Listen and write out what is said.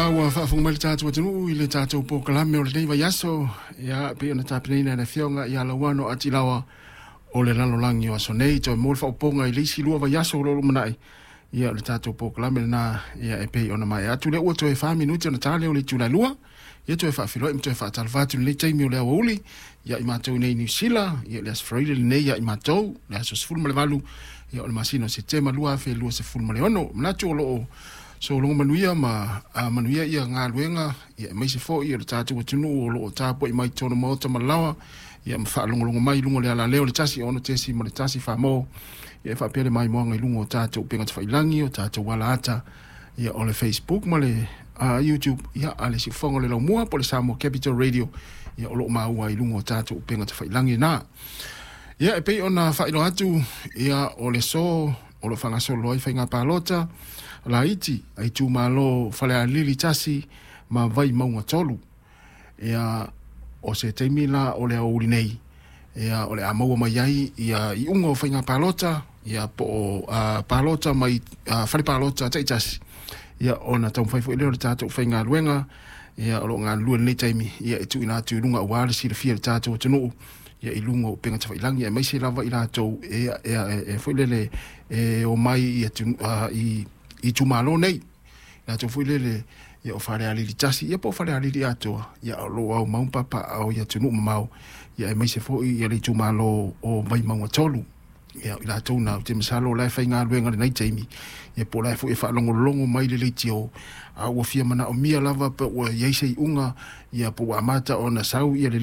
la ua faafofoga mai le tatou atunuu i le tatou polokalame o lenei vaiaso, ia pei ona tapenaina e le Afioga ia Lauano Atilaoa o le lalolagi o aso nei. Toe mo le faaopoopoga i le isi 2 vaiaso o lo o lumanai, ia o le tatou polokalame lena, ia e pei ona maea atu lea ua toe 4 minute ona ta lea o le itula e 2. Ia toe faafeiloai ma toe faatalofa atu i lenei taimi o le aoauli ia i matou nei i Niu Sila, ia le Aso Faraile lenei ia i matou, le aso 18 ia o le masina o Setema 2026. Manatu o lo o sologa manuia ma manuia ia galuega, ia aemaise foi o le tatou atunuu o lo o tapuai mai totonu maota ma laoa, ia ma faalogologo mai i luga o le alaleo le 1 6.1 Samoa, ia e faapea le maimoaga i luga o tatou upega tafailagi, o tatou alaata, ia o le Facebook ma le YouTube, ia a le siufofoga o le laumua po o le Samoa Capital Radio, ia o lo o maua i luga o tatou upega tafailagi na. Ia e pei ona faailoa atu, ia o le so o lo o faagasolo ai faiga palota laiti a itumalo Falealili 1 ma Vaimauga 3. Ia o se taimi la o le aoauli nei, ia o le a maua mai ai ia iuga o faiga palota, ia po o palota mai fale palota taitasi, ia ona taumafai foi lea o le tatou faigaluega, ia o lo o galulue i lenei taimi, ia e tuuina atu i luga aua le silafia e le tatou atunuu, ia i luga o upega tafailagi, aemaise lava i latou e foi lele e omai i itumalo nei, latou foi lele ia o Falealili 1 ia po o Falealili atoa, ia o lo o aumau ma papaaao i atunuu mamao, ia aemaise foi ia le itumalo o Vaimauga 3. Ia i latou na ou te masalo o la e faigaluega i lenei taimi, ia po o la e foi e faalogologo mai le leitio, a ua fia manaomia lava pe ua i ai se iuga, ia po ua amata ona sau ia le